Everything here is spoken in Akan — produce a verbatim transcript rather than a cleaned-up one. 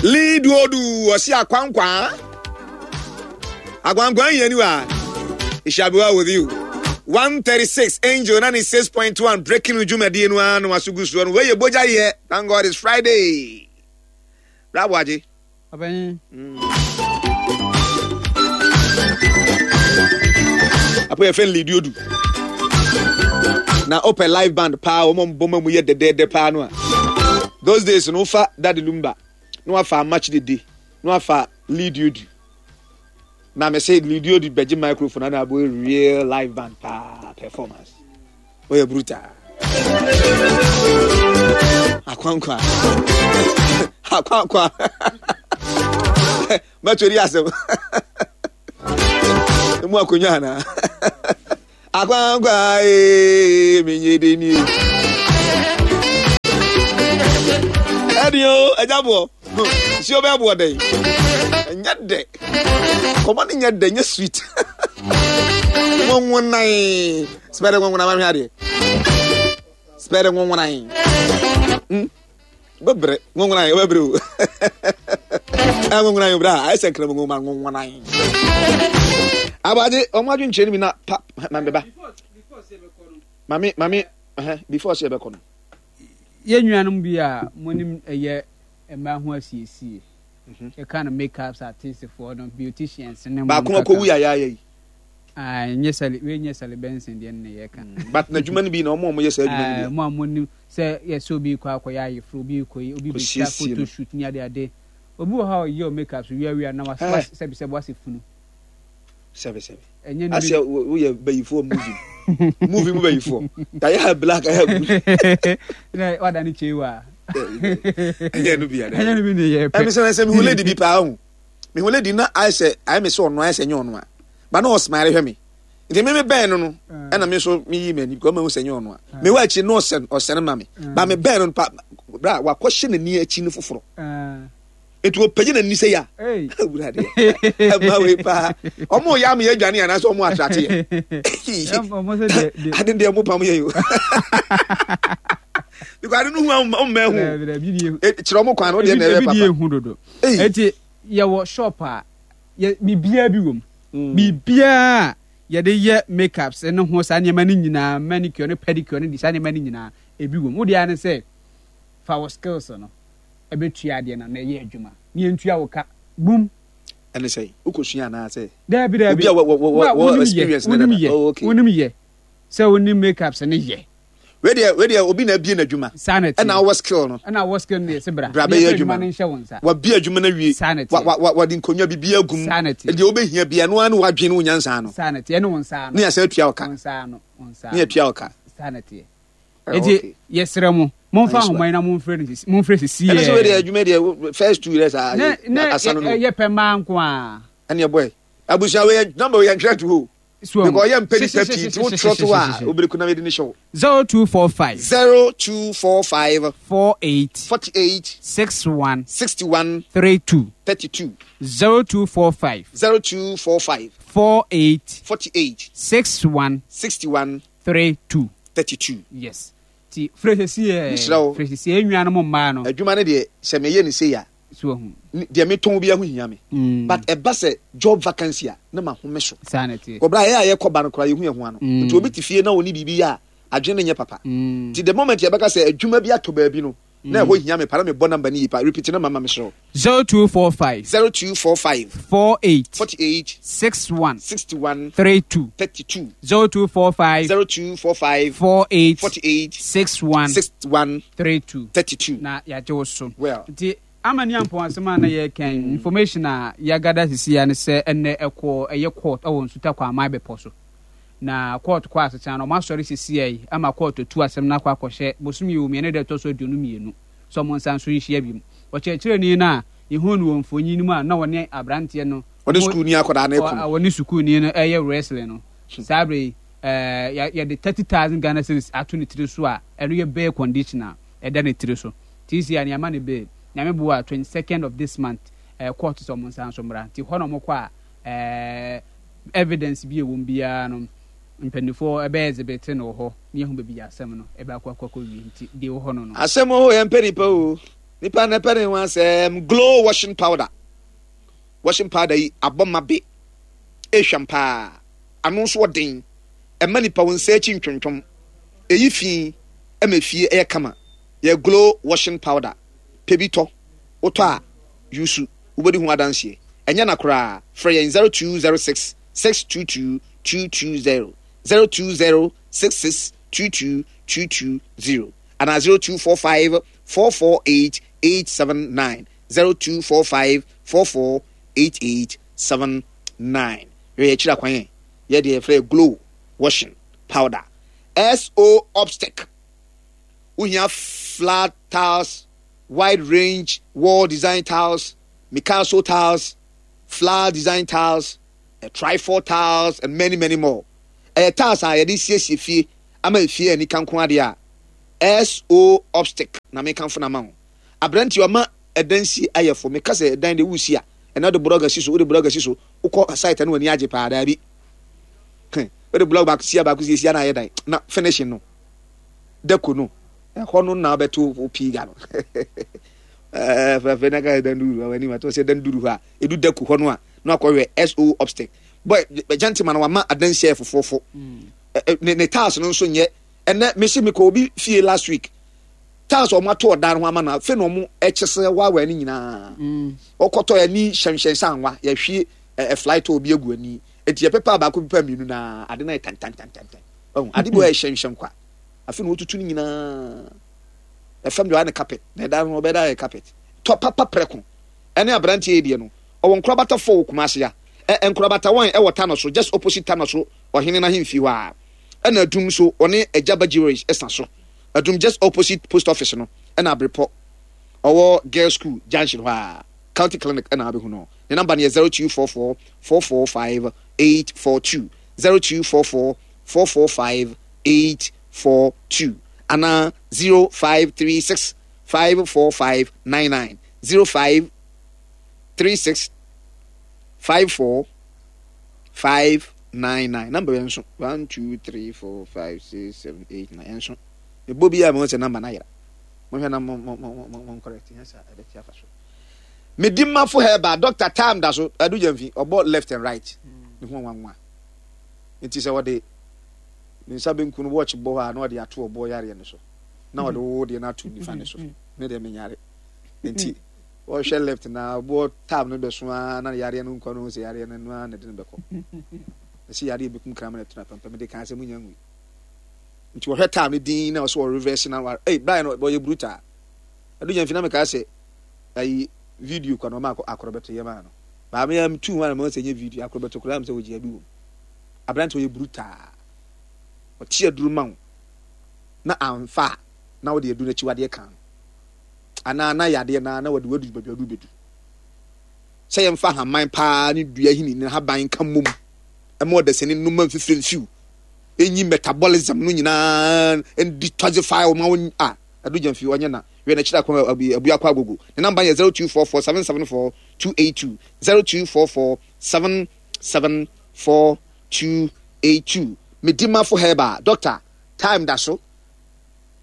Lead odu ɔsi akwankwa. Akwankwa yɛn ni wa. It shall be well with you. one thirty-six Angel ninety-six point one breaking dwumadie no ara na waso gu soɔ no. Wei yɛ bogya yɛ. Thank God it's Friday. Bravo agye. Ɔbɛn. Apo yɛ fɛn lead odu. Na open live band paa wɔn bɔ mu yɛ dɛdɛɛdɛ paa no a. Those days no fa Daddy Lumba na wafa match dede na wafa lead odu. Na me say lead odu bɛgye microphone na abo real live band paa performance. Oyɛ brutal. Akwankwa. Akwankwa. Mɛtɔ di asɛm. Emu akonnwa ana. Akwankwa ee menye de ni. Ɛdi o ɛgya boɔ. Si o bɛ boɔ dɛ. Ɛnyɛ dɛ. Kɔmɔ ni nyɛ dɛ nyɛ sweet. Nwonwonan. Spɛrɛ nwonwonan ma hwɛ adeɛ. Spɛrɛ nwonwonan. Hmm. Bɛbrɛ nwonwonan bɛbrɛ o. Ɛ nwonwonan bra ayɛ sɛ nkramu nwoma nwonwonan. Abade ɔmo adwenkyerɛ no mi na pa ma bɛba. Mame mame ɛhɛn before sɛ yɛbɛkɔ no. Yɛn nuanom bi a monim ɛyɛ mmaa ho asiesie. Yɛka no makeups artistfoɔ no, beauticians ne mo Baako nkaka. akɔwu yayaya yi. Ah, nyɛ Sally, wei nyɛ Sally Benson deɛ no na yɛka. But n'adwuma no bi na ɔmo a ɔmo yɛ saa adwuma no Ah, bi. mo a monim sɛ yɛsɛ obi kɔ akɔyɛ ayeforo, obi kɔ yi, obi bɛtwa Kɔsiesie no. photo shoot ne ade ade. Obi wɔ hɔ a ɔyɛ o makeup so wiawia na was Eh. was sɛbi sɛbi wasɛ funu. Sɛbi sɛbi. Ɛnyɛ ne Asɛ woyɛ bayifoɔ movie. Movie mu bayifoɔ. Yɛayɛ ha black ayɛ blue. Na wada ne kyei wa. Ɛnyɛ no bi ana. Ɛnyɛ no bi ne yɛ Ɛmi pɛ. sɛ sɛ mihu lady bi paa ho. Mihu lady na ayɛ sɛ ayɛ mi sɛ ɔno ayɛ sɛ nyɛ ɔno a. Ba na ɔsmile hwɛ mi. Nti mi mi bɛn no no ɛna mi nso mi yi m'ani because ɔmo sɛ nyɛ ɔno a. Mi wɔ akyi na ɔsɛn ɔsɛn ma mi. Ba mi bɛn no pa bra wakɔhyɛ n'ani akyi no foforɔ. Ah. Nti ɔpagya n'ani sɛ ya. Hey. Awurade. Ɛma wei paa. Ɔmo yɛ ama yɛ adwane anaasɛ ɔmo atrate yɛ. Ɔmo sɛ deɛ deɛ. Ade deɛ mo pam yɛ yi o. Because ade no hu a ɔmo mma hu. Ebi deɛ Kyerɛ ɔmo kwan no deɛ na ɛyɛ ebi deɛ papa. ehu dodo. Ei. Eti yɛwɔ shop a yɛ biribiara bi wɔ mu. Mm. Biribiara a yɛde yɛ makeups ne ho saa nneɛma no nyinaa, manicure ne pedicure ne de saa nneɛma no nyinaa ebi wɔ mu. Wo deɛ ara ne sɛ fa wo skills no ɛbɛtua adeɛ no na ɛyɛ adwuma. Ne yɛntua wo ka. Boom. Ɛne sɛ wokɔsua anaasɛ Daabi daabi. Obi a wɔ- wɔ- wɔ- Wo a wɔ wonim yɛ, experience ne wonim dada. yɛ, Oh, okay. wonim yɛ. Sɛ wonim makeups ne yɛ. Wei deɛ wei deɛ obi na abie n'adwuma. Saa na ɛteɛ. Ɛna wɔ skill no. Ɛna wɔ skill no yɛ sɛ bra. Bra Ne bɛyɛ yɛmfa adwuma no nhyɛ wo nsa. Wabie adwuma no awie. Saa na ɛteɛ. Wa- wa- wa- wɔde nkonnwa biribi agum. Saa na ɛteɛ. Deɛ wobɛhia bia no ara ne wadwene wo nyansa no. Saa na ɛteɛ. Ɛne wo nsa ano. Ne yɛsɛ atua wo ka. Wo nsa ano. Wo nsa Ne ano. yɛtua wo ka. Saa na ɛteɛ. Eh, Eti okay. yɛsrɛ mo, momfa Nice one. ahoma yi na momfrɛ no sisi momfrɛ sisi Ɛne sɛ wei deɛ yɛ. adwuma deɛ wo- first two years a Ne ne asa no no. yɛ pɛ mmaa nko a. Ɛne ɛbɔɛ. Abusua wei yɛ number wei yɛntwerɛ to hɔ. So Because ɔyɛ mpɛ nipa pii nti wotwerɛ to hɔ a wobɛku na mede ne hyɛ wo. Zero two four five. Zero two four five. Four eight. Forty eight. Six one. Sixty one. Three two. Thirty two. Zero two four five. Zero two four five. Four eight. Forty eight. Six one. Sixty one. Three two. Thirty two. Yes. Ti frɛ sisi yɛ. Mesrɛ wo. Frɛ sisi yɛ nnuanom mmaa no. Adwuma no deɛ sɛ meyɛ ne sei a. So ahu. ne- Deɛ metɔn bi ho hia me. Mm. But ɛba sɛ job vacancy a na ma home so. Saa na ɛteɛ. Kɔbra yɛ a yɛkɔ ba no koraa yɛhu yɛn ho ano. Mm. Nti obi te fie na ɔni biribi yɛ a adwene no nyɛ papa. Mm. Nti the moment yɛbɛka sɛ adwuma bi atɔ baabi no na ɛhɔ hia me pa na mebɔ number no yie pa repeat no mama mesrɛ wo. Zero two four five. Zero two four five. Four eight. Forty eight. Six one. Sixty one. Three two. Thirty two. Zero two four five. Zero two four five. Four eight. Forty eight. Six one. Six one. Three two. Thirty two. Na yɛagye wo so. Well. Nti ama ne ampɔn asɛm a na yɛka information a yɛagada sisi ya ne sɛ ɛnɛ ɛkɔ ɛyɛ court ɛwɔ Nsuta Kwaman bepɔ so. Na court kɔ asetena no ɔmo asɔre sisi yi ama court atu asɛm no akɔ akɔhyɛ bosom yi mmienu da ɛtɔ so aduonu mmienu sɛ ɔmo nsa nso nhyia bi mu. Ɔkyerɛkyerɛni no a yɛhu no wɔ mfonyin no mu a na wɔne aberanteɛ no Ɔne sukuuni akwadaa no ɛko no. wɔne sukuuni no ɛyɛ wrestling no saa bere yi ɛɛ yɛde thirty thousand Ghana cedis ato ne tiri so a ɛno yɛ bail condition a ɛda ne tiri so ti si a nneɛma ne bail Nyame boa twenty second of this month ɛɛ court sɛ ɔmo nsa nso mmra nti hɔ na ɔmo kɔ a ɛɛ evidence bi a ɛwɔ mu biara no mpanimfoɔ ɛbɛyɛ exhibit no wɔ hɔ ne yɛhu baabi yɛ asɛm no ɛbɛ akɔ akɔ akɔ wie nti deɛ ɛwɔ hɔ no no. Asɛm hɔ yɛn mpɛ nipa o. Nipa na pɛ ne ho asɛm. Glow washing powder, washing powder yi abɔ ma be ehwam paa, ano nso ɔden, ɛma nipa wɔn nsa akyi ntwentwom, eyi fi ɛma fie ɛyɛ kama. Yɛ Glow washing powder, pɛ bi tɔ, wotɔ a yusu, wobɛdi ho adanseɛ. Ɛnyɛ na koraa. Frɛ yɛn zero two zero six six two two two two zero, zero two zero six six two two two two zero anaa zero two four five four four eight eight seven nine, zero two four five four four eight eight seven nine. Yɛ akyiri akwan yɛn yɛ deɛ yɛfrɛ Glow washing powder. So Obstec, wohia flat tiles, wide range wall design tiles, Picasso tiles, flower design tiles, uh, trifold tiles and many, many more. Ɛyɛ tiles a yɛde siesie fie ama efie ani kanko adeɛ a, So Obstec na mekanfo na ma wo. Aberanteɛ ɔma ɛdan si ayɛ fo. Meka sɛ ɛdan de wusi a, ɛna wode blog asi so, wode blog asi so, wokɔ site no, w'ani agye paa. Daabi, wode blog baako si a, baako si esi na ayɛ dan na finishing no, deko no, ɛhɔ no na wobɛto wo pii ga no fɛfɛ na ka dan duru hɔ anim ato sɛ dan duru hɔ a, edu deko hɔ no a, na akɔhwɛ So Obstec boy gentleman wama adansi ayɛ fofoofo. Ne ne tiles no nso nyɛ. Ɛnɛ mesi mekɔ obi fie last week, tiles a wɔn ato ɔdan ho ama no, afei na wɔn ɛkyɛ sɛ waawa ne nyinaa ɔkɔtɔ ani hyɛnhyɛn sɛ anwa yɛhwie ɛ flight obi egu ani eti yɛpepa baako, pepa mmienu na ade na yɛ tantantantantan. Ɔho ade bi wɔ yɛ hyɛnhyɛn kwa, afei na wɔtutu ne nyinaa ɛfam deɛ ɔyɛ ne carpet na ɛdan ho ɔbɛda yɛ carpet tɔ papa prɛko. Ɛne aberanteɛ yi deɛ no, ɔwɔ nkorabata fɔ wɔ Kumase a ɛ nkorabata one ɛwɔ Tano so, just opposite Tano so ɔhene n'ahemfie hɔ a, ɛna Adum so ɔne Agyaba Jewelries ɛsa so, Adum just opposite post office no, ɛna Abrepɔ ɔwɔ girls school junction hɔ a, County Clinic ɛna abɛhu no. Ne number no yɛ zero two four four four four five eight four two, zero two four four four four five eight four two anaa zero five three six five four five nine nine, zero five three six five four five nine nine. Number yɛn nso one two three four five six seven eight nine. Yɛn nso ebo bi a mo sɛ number na yɛra mo hwɛ na mo mo mo mo mo correct yɛn sɛ ɛbɛte afa so. Medi mafo herbal doctor time da so adu gyamfi ɔbɔ left and right ne ho nwanwa nti sɛ wɔde ne nsa benkum no watch bɔ hɔ a, na wɔde ato ɔbɔ yareɛ no so na wɔde wo deɛ no ato nifa ne so. Ne deɛ menyare nti wɔhwɛ left na ɔbɔ tab no bɛso ara na yareɛ no nkɔ no ho sɛ yareɛ no no ara na ɛde no bɛkɔ ɛsɛ yareɛ bɛkum kraman no tena pɛmpɛm de kan sɛ munya ngui nti wɔhwɛ tab no din na ɔsɛ wɔ reverse na wa. Ei, Brian ɔyɛ brutal. Adu gyamfi na meka sɛ ayi video kwa na ɔma akorɔbɛto yɛ maa no maame ya tu ho a na mo sɛ nyɛ video akorɔbɛto koraa m sɛ wɔgye abi wɔ mu. Aberante ɔyɛ brutal, ɔte aduru ma wo na amfa a, na wɔde aduru n'akyiwadeɛ kan no anaa na yadeɛ na na wɔde wadu baabi ɔde bɛdu sɛ yɛmfa haman paa ne dua hini ne haban nka mmom ɛma ɔdasani nnoma mfifire mfiw enyi metabolism no nyinaa detoxify wɔn a wɔn a adu gyamfi ɔnyɛ na wɛ n'akyiri akɔ Abuakɔ Agogo. Ne number yɛ zero two four four seven seven four two eight two, zero two four four seven seven four two eight two. Medimafo Herbal doctor time da so.